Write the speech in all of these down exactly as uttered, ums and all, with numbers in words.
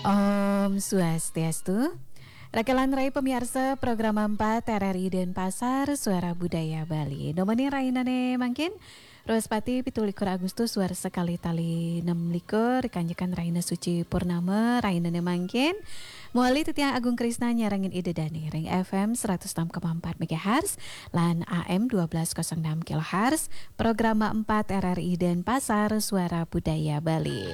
Om Swastiastu. Rakelan rai pamiarsa program empat R R I Denpasar, Suara Budaya Bali. Nomor ni rainane mangkin, Wrespati, pitu likur Agustus, warsa kalih tali enam likur, kanjekan raina suci purnama, rainane mangkin. Mawali titiang Agung Krisna nyarengin Ida Dane ring F M seratus enam koma empat megahertz lan A M dua belas kosong enam kilohertz, program empat R R I Denpasar, Suara Budaya Bali.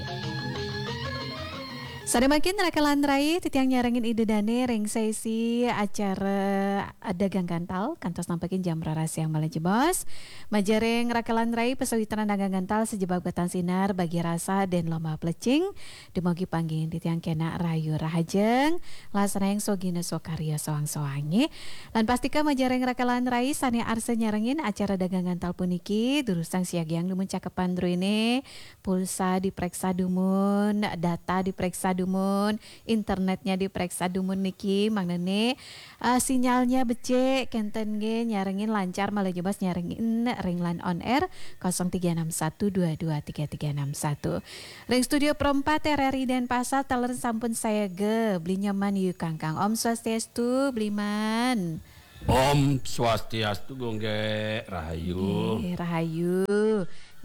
Sane mangkin rakelan rai, titiang nyarengin Ida Dane ring sesi acara Dagang Gantal, kantos nampekin jam roras siang malih jebos. Majeng ring rakelan rai pasawitran Dagang Gantal sajebag batan sinar, bagi rasa dan lomba plecing, dumugi panggihin titiang kenak rahayu rahajeng, laksanayang sogina sokarya soang-soang nggih. Lan pastika majeng ring rakelan rai sane arsa nyarengin acara Dagang Gantal puniki, durusang siagiang dumun cakepan druene, pulsa dipreksa dumun, data dipreksa dumun, internetnya dipreksa dumun niki, mangdane, eh, sinyalnya becik, kenten nggih, nyarengin lancar malih jebos nyarengin ring line on air kosong tiga enam satu dua dua tiga tiga enam satu. Ring studio Pro empat R R I Denpasar, taler sampun sayaga, Beli Nyoman Yu Kangkang. Om Swastiastu, Beli Man. Om Swastiastu, Gung Gek, rahayu. Nggih, rahayu.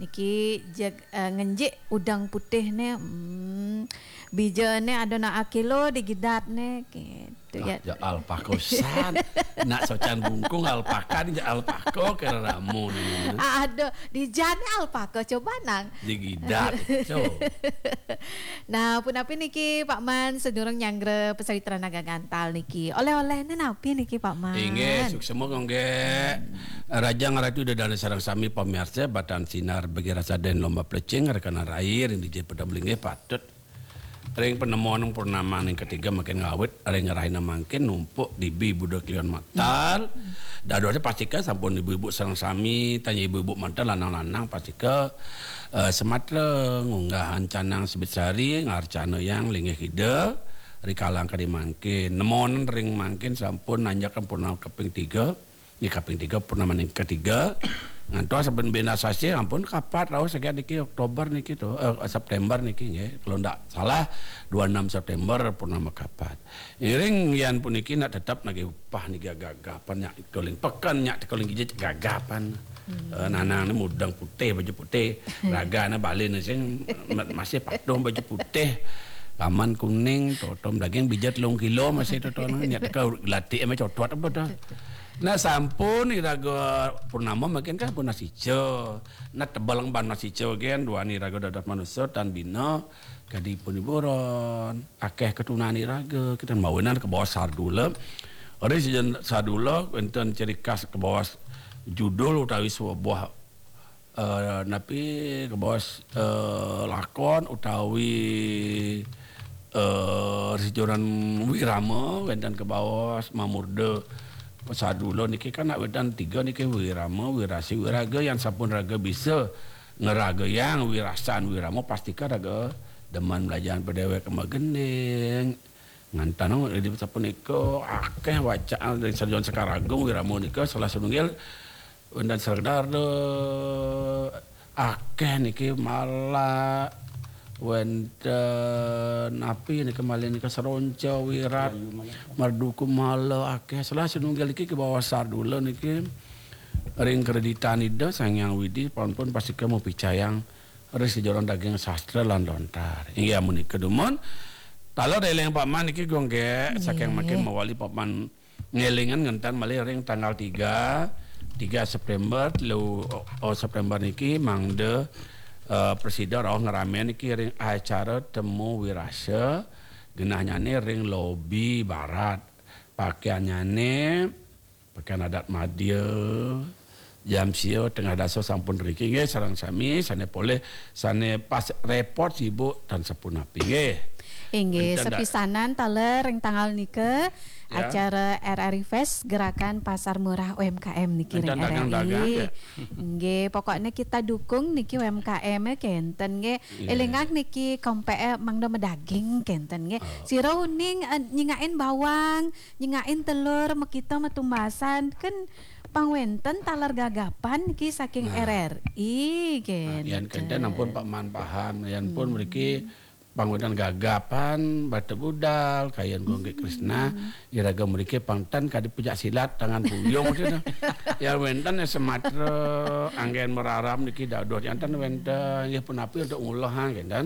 Niki jeg, eh, ngenjik udang putih ne, hmm, bijane ada nak akilo digidat ne, gitu. Ah, ya. Ya alpaka san. Nak socan bungkung alpaka ni, ya alpaka kira ramun. Ah, ada, di jane alpaka, coba nang. Digidat, co. Nah, punapi niki Pak Man, sedurung nyanggra pasawitran Dagang Gantal niki. Oleh-olehne napi niki Pak Man? Inggih, suksma Gung Gek. Rahajeng Ratu Ida Dane sareng sami pamiarsa, batan sinar bagi rasa dan lomba plecing, rakenan rai ring D J Pedem linggih patut. Ring panemon purnama ning ketiga mangkin ngawit, ring rahina mangkin numpuk dibi Buda Kliwon Matal. Dadosne pastika sampun ibu-ibu sareng sami, tanya ibu-ibu manten lanang-lanang pastika, eh, sematra ngunggahang canang sabit sari, ngarcanayang linggih Ida, rikala kadi mangkin. Nemon ring mangkin sampun nanjak purnama kaping tiga, nggih kaping tiga, purnama ning ketiga. Ngantos saben bena sasih ampun kapat rauh saget niki Oktober niki to, eh, September niki nggih. Kalau ndak salah dua enam September purnama kapat. Iring yan puniki nak tetep nagih upah niki gagapan nyak tikoling peken nyak tikoling gijit gagapan. Hmm. Eh, nanang ni mudeng putih, baju putih, hmm, ragane bali ni sing ma-, masih patuh baju putih. Laman kuning, totom daging bijat telung kilo masih totom nyak teka gelatih ame cotot apa dah. Nah, sampun iraga purnama mangkin kan pun nasica. Nah, tebel ngemban nasica gen duani iraga dados manusa tan bina kadi pun hiburan. Akeh ketunan iraga, kita mawinan ke bawah sardula. Ri sejen sardula wenten ciri khas ke bawah judul utawi sebuah, eh, napi ke bawah, eh, lakon utawi, eh, sejoran wirama wenten ke bawah mamurda sardula niki kan nak wenten tiga niki wirama, wirasi, wiraga yang sampun raga bisa ngeragayang wirasan wirama pastika raga demen belajar pedewek magending. Ngantan di sapunika akeh wacaan dari Sarjon Sekar Agung wirama nika salah setunggal wenten sekedar de akeh niki malah wenten napi nika malih nika seronca wirat merduku mala akeh salah setunggal niki ke bawah sardula niki ring kreditan Ida Sang Hyang Widi pun pun pastika mupicayang ring sejoron daging sastra lan lontar. Inggih amunika dumun. Taler eling Pak Man niki Gung Gek saking mangkin mawali Pak Man ngelingan ngentan malih ring tanggal tiga, tiga September, telu, oh, September niki mangda, eh, presida rauh ngerame niki ring acara temu wirasa genahnyane ring lobi barat. Pakaiannyane pakaian adat madya, jam sia tengah dasa sampun riki nggih sareng sami sane polih sane pas repot sibuk tan sapunapi nggih. Inggih, wenten da- sepisanan taler ring tanggal nika ya. Acara R R I Fest Gerakan Pasar Murah U M K M niki ring dagang-dagang R R I. Ya. Nggih, pokoknya kita dukung niki U M K M ya kenten nggih. Iya. Elingang niki kompe mangda medaging kenten nggih. Oh. Sira uning, eh, nyingakin bawang, nyingakin telur, makita matumbasan, kan pang wenten taler gagapan niki saking nah. R R I, nah, kenten. Yan kenten ampun Pak Man paham, yan pun hmm. Mriki Pang wénten gagapan, bata budal, kayun Gung Gek Krisna, iraga mriki pang ten kadi pencak silat, tangan puyung, gitu. Ya wénten ya sematra, anggén mararam niki dados janten wénten, nggih punapi untuk ngulah, ha, kénten.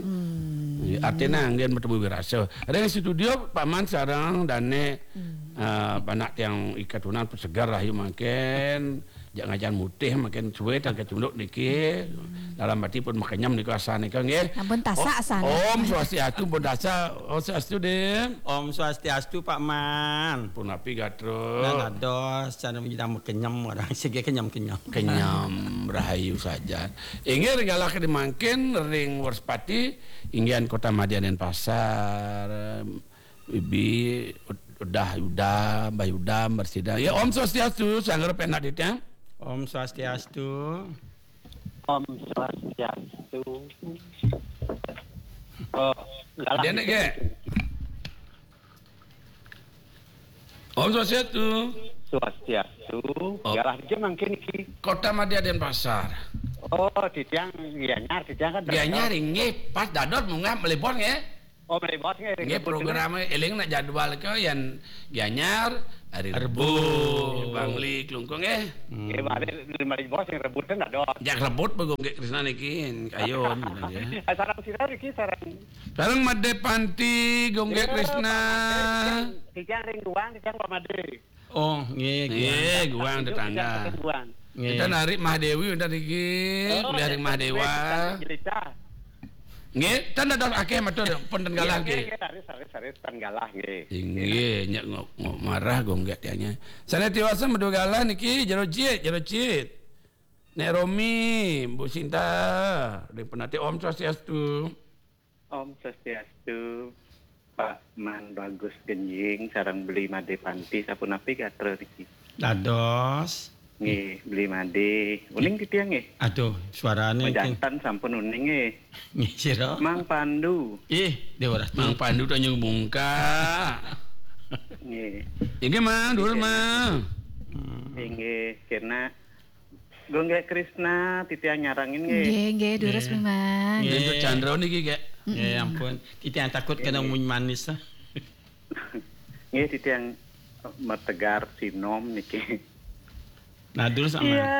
Nggih, artina anggén bertemu wirasa. Ring studio Pak Man sareng Dane, eh, panak tiang ikatunan pesegar rahayu mangkin. Jak ngajan mutih makin suwe tan kacunduk niki. Dalam hati pun makenyem nika asanika nggih. Ampun tasak asane. Om Swastiastu, pun tasak. Om Swastiastu, Dik. Om Swastiastu, Pak Man. Punapi gatra? Nah, dados, cara nyidang makenyem, orang sige kenyem-kenyem. Kenyem, rahayu saja. Inggih, ring galah kadi mangkin, ring Wrespati, inggihan Kota Madya Denpasar. Ibi, Udah, Udah, Mbah Udah, Mbah Sida. Ya, Om Swastiastu, sanggar penak titiang. Om Swastiastu. Om Swastiastu. Oh, galah. Dia nek, Gek. Om Swastiastu. Swastiastu. Oh. Galah dia mangkin iki. Kota Madya Denpasar. Oh, titiang Gianyar, titiang kan Gianyar, nggih, pas dados munggah mlebon nggih. Oh, mlebon nggih, nggih, program eling nak jadwal ke yen Gianyar hari Rebo, Rebo. Bangli, Klungkung nggih. Hmm. Nggih, balik lima ribu sing rebut kan ada. Jak rebut begung nggih Krisna niki, kayun, gitu, nggih. Eh, sarang sira niki, sarang. Sarang Made Panti, Gung Gek Krisna. Titiang, titiang ring Guang, titiang Pak Made. Oh, nggih, nggih, Guang. Guang tetangga. Guang. Nggih. Kita narik Mahdewi udah niki, oh, kuliah ring Mahdewa. Jelita. Nggih, tan dados akeh matur, pun tan galah nggih. Nggih, nggih, saris, saris, saris, tan galah nggih. Inggih, nyak ngok, ngok marah gong gak tianya. Sana tiwasa medu galah niki, jero cit, jero cit. Nek Romi, Bu Sinta, ring penati Om Swastiastu. Om Swastiastu, Pak Man Bagus Genjing, sareng Beli Made Panti, sapunapi gatra niki? Dados. Nggih, Beli Made. Uning titiang nggih? Aduh, suarane majanten sampun uning nggih. Nggih, sira. Mang Pandu. Ih, Dewa Ratna. Mang Pandu Tanjung Bungka. Nggih. Inggih, Mang, durus, Mang. Hmm. Inggih, kena Gung Gek Krisna, titiang nyarengin nggih. Nggih, nggih, durus, nggih. Memang. Nggih. Nggih, Chandra niki, Gek. Nggih, mm-mm. Ampun. Titiang takut kena nggih. Munyi manis, ah. Nggih, titiang metegar sinom niki. Nah, durus sama. Iya.